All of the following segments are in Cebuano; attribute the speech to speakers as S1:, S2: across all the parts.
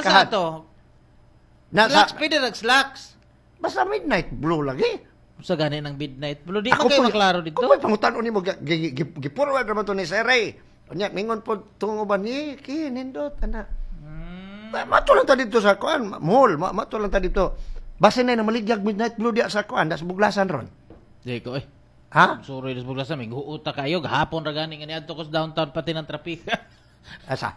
S1: Markahan.
S2: Sa to?
S1: Na,
S2: Slacks,
S1: sa,
S2: pwede rag slacks.
S1: Basta midnight blue lagi.
S2: Sa gani ng midnight blue. Di man kayo maklaro dito.
S1: Ako po'y pangutan nimo, gi-forward naman to ni Sir Ray. Unya mingon po tungo ba ni ki nindot ana. Mato lang ta dito sa kuan, mall, mato lang ta dito. Basta na maligyag midnight blue diya sa kuan, das Buglasan ron.
S2: Di ko eh.
S1: Ha?
S2: Sorry, das Buglasan, may huuta kayo. Gahapon ra gani nga niadto ko sa downtown pati ng traffic.
S1: Asa?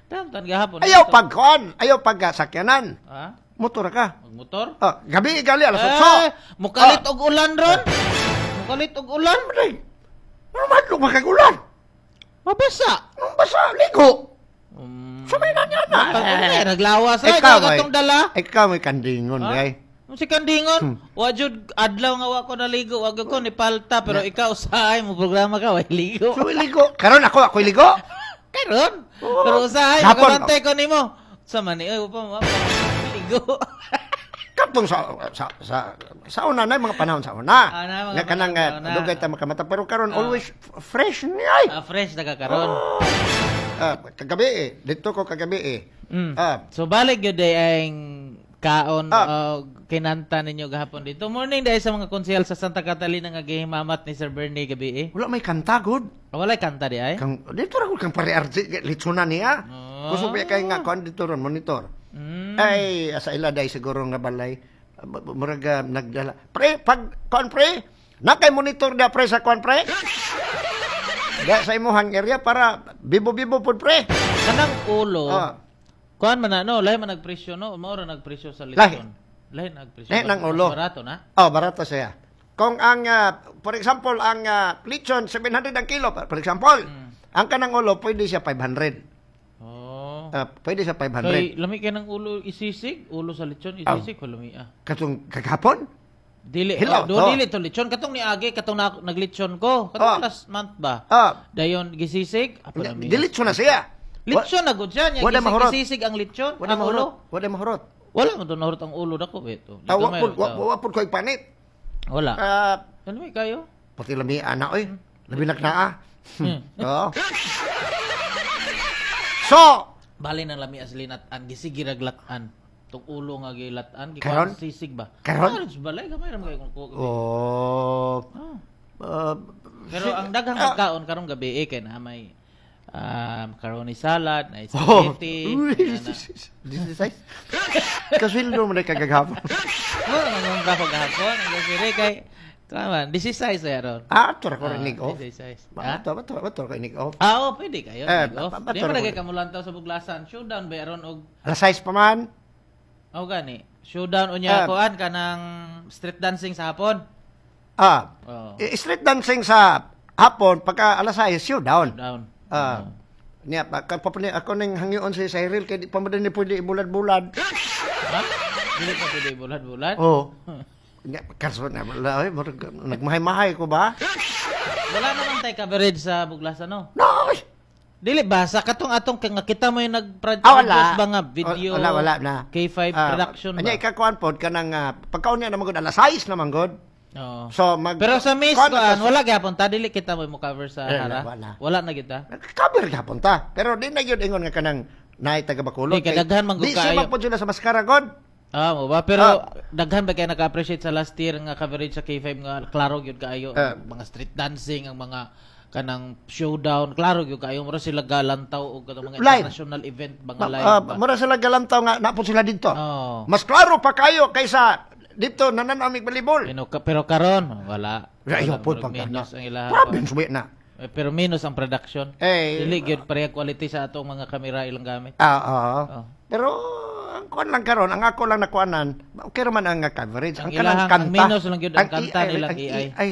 S2: Downtown gahapon.
S1: Ayaw
S2: Dito.
S1: pag kuan, ayaw pag sakyanan.
S2: Ha?
S1: Motor ka.
S2: Magmotor?
S1: Ah, gabi gali alas 8.
S2: Eh, mukalit og ulan ron. Mukalit og ulan.
S1: Ano? Ano madlok makagulan?
S2: Mabasa.
S1: Anong basa? Ligo. Sabay na niya na.
S2: Pag naglawas ra
S1: Ikaw,
S2: ikaw atong dala.
S1: Ikaw may kandingon,
S2: Ha?
S1: ay.
S2: Ang si kandingon, wa jud adlaw nga wa ko naligo, wa gyud ko ni palta, pero ikaw usahay mo programa ka way ligo.
S1: So, ligo. Karon ako, ako'y ligo.
S2: Karon.
S1: Oo.
S2: Pero usahay
S1: Hapon.
S2: makabantay ko nimo. Sa man ni oy pa mo ligo.
S1: Katong sa una na mga panahon sa una.
S2: Ah, na, mga
S1: Nga kanang
S2: panahon sa una.
S1: dugay ta makamata pero karon
S2: Ah.
S1: always fresh ni ay.
S2: Ah, fresh na ka karon.
S1: Ah, kagabi eh. Dito ko kagabi eh. Ah,
S2: So balik gyud day ang kaon og kinanta ninyo gahapon dito. Morning dahil sa mga konsehal sa Santa Catalina nga gihimamat ni Sir Bernie gabi eh.
S1: Wala may kanta gud.
S2: Walay kanta di ay.
S1: Kang dito ra gud kang pare RJ litsuna niya.
S2: Ah.
S1: Gusto pa kay nga kuan dito ron monitor. Ay sa ila day siguro nga balay murag nagdala. Pre, pag kuan pre, na kay monitor da pre sa kuan pre. Da sa imuhang area para bibo-bibo pud pre.
S2: Kanang ulo.
S1: Ah.
S2: Kuan man na no, lahi man nagpresyo no, mao ra nagpresyo sa
S1: Lahi.
S2: lechon. Lahi nagpresyo.
S1: Lahi ng
S2: Mas
S1: ulo.
S2: barato na.
S1: Oh, barato siya. Kung ang, for example, ang lechon, 700 ang kilo, for example, ang kanang ulo, pwede siya 500.
S2: Oh.
S1: Pwede siya 500.
S2: Kay lami kay ng ulo isisig, ulo sa lechon isisig ko lami ah.
S1: Katong kagapon?
S2: Dili,
S1: Hilaw,
S2: oh, do
S1: to.
S2: dili to lechon katong niagi katong na, naglechon ko katong last month ba. Dayon gisisig, apo lami.
S1: Di lechon na siya.
S2: Lechon na gud siya nya
S1: Wala
S2: gisig,
S1: mahurot.
S2: gisisig ang lechon,
S1: Wala
S2: ang ulo.
S1: mahurot. Wala mahurot.
S2: Wala mo to nahurot ang ulo dako beto.
S1: Ah, wa pud wa pud ko'y panit.
S2: Wala.
S1: Ah,
S2: Ano may kayo?
S1: Pati lami ana oy. Labi naknaa. Oo. So,
S2: Bali nang lami as linat-an gisigi raglatan. Tong ulo nga gilatan
S1: Karon?
S2: gikuan sisig ba?
S1: Karon?
S2: Ah, sa balay gamay ra man kayo kung kuha.
S1: Oh.
S2: Ah. Pero ang daghang pagkaon karong gabi eh, kay na may macaroni salad, na
S1: Oh.
S2: spaghetti.
S1: Uy,
S2: na.
S1: this is size. Kasweldo mo na kagagapon.
S2: Oh, nangungka ko gahapon, ang grocery kay Tama, this is size eh ron.
S1: Ah, ato ra ko rinig off.
S2: This is size. Ha?
S1: Bato, bato, bato ko inig off.
S2: Ah, oh, pwede kayo.
S1: Eh,
S2: Nig off.
S1: bato
S2: Di
S1: ra
S2: man
S1: ko.
S2: lagi kamulantaw sa Buglasan. Showdown ba ron og
S1: Alas size pa man.
S2: oh gani. Showdown unya
S1: Ah.
S2: kuan kanang street dancing sa hapon.
S1: Ah.
S2: Oh.
S1: Street dancing sa hapon pagka alas 6 showdown.
S2: Showdown.
S1: Ah. Niya pa ka pa ako ning hangyoon si Cyril kay di pa man din ni pwede ibulad-bulad.
S2: Ha? Dili pa pwede bulad-bulad.
S1: Oh. Niya kaso na wala oy, murag nagmahay-mahay ko ba?
S2: Wala naman tay coverage sa Buglasan no.
S1: No. Oy.
S2: Dili ba sa katong atong kay nga kita mo yung nag-produce
S1: Ah, wala.
S2: ba nga video?
S1: Wala, wala na.
S2: K5
S1: Ah,
S2: production ba?
S1: Anya ikakuan pod kanang pagkaon niya na magod alas 6 naman god.
S2: Oo.
S1: So mag
S2: Pero sa Miss
S1: kuan
S2: kuan,
S1: na
S2: wala gyapon ta dili kita mo cover sa
S1: Eh,
S2: Hara.
S1: wala.
S2: Wala na kita.
S1: Cover gihapon ta. Pero di na gyud ingon nga kanang naay taga Bacolod.
S2: Di, kadaghan man gud
S1: Di siya
S2: kaayo.
S1: magpud sila sa maskara god.
S2: Ah, mo ba? Pero daghan ba kay naka-appreciate sa last year nga coverage sa K5 nga klaro gyud kaayo ang mga street dancing, ang mga kanang showdown, klaro gyud kaayo mura sila galantaw og katong mga
S1: Live.
S2: international event mga live ba.
S1: Mura sila galantaw nga napod sila dito.
S2: Oo.
S1: Mas klaro pa kayo kaysa dito nananamig balibol.
S2: Pero karon wala.
S1: Ayaw
S2: Wala,
S1: pod
S2: murag
S1: pagka
S2: minus ang ilaha.
S1: Grabe suwi na.
S2: Eh, pero minus ang production.
S1: Eh,
S2: Dili gyud pareha quality sa atong mga kamera ilang gamit.
S1: Ah, oo.
S2: Oh.
S1: Pero ang kuan lang karon, ang ako lang nakuanan, okay raman ang coverage.
S2: Ang
S1: Ang kanang
S2: ilahang-
S1: kanta.
S2: ang minus lang gyud ang kanta
S1: AI,
S2: nilang
S1: ang
S2: AI.
S1: AI.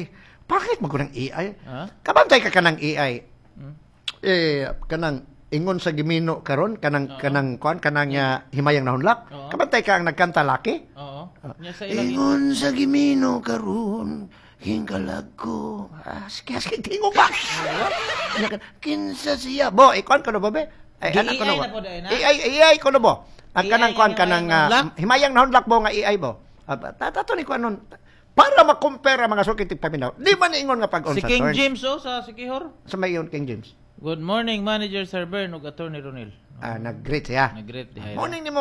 S1: Bakit mo ng AI?
S2: Ha?
S1: Kabantay ka kanang AI. Eh kanang ingon sa gimino karon kanang kanang kuan kanang himayang nahunlak.
S2: Oo.
S1: Kabantay ka ang nagkanta laki.
S2: Oo. Nya sa ilang
S1: Ingon sa gimino karon hingkalag ko. Ah, sige, sige, tingo ba? Kinsa siya? Bo, ikuan ko na ba, be? Ay,
S2: Di
S1: anak ko na
S2: AI
S1: ba?
S2: na po dahil na?
S1: AI, AI ko na bo. Ang
S2: AI
S1: kanang kuan
S2: ang
S1: kanang
S2: himayang nahunlak?
S1: himayang nahunlak bo nga AI bo. Ah, tato ni kuan nun. Para makumpara mga sukit paminaw. Di man ingon nga pag-on
S2: Si
S1: sa
S2: King
S1: turn.
S2: James oh sa Sikihor.
S1: Sa may yun, King James.
S2: Good morning, Manager Sir Bern ug Attorney Ronel.
S1: Ah, nag-greet siya.
S2: Nag-greet dihay.
S1: Morning nimo.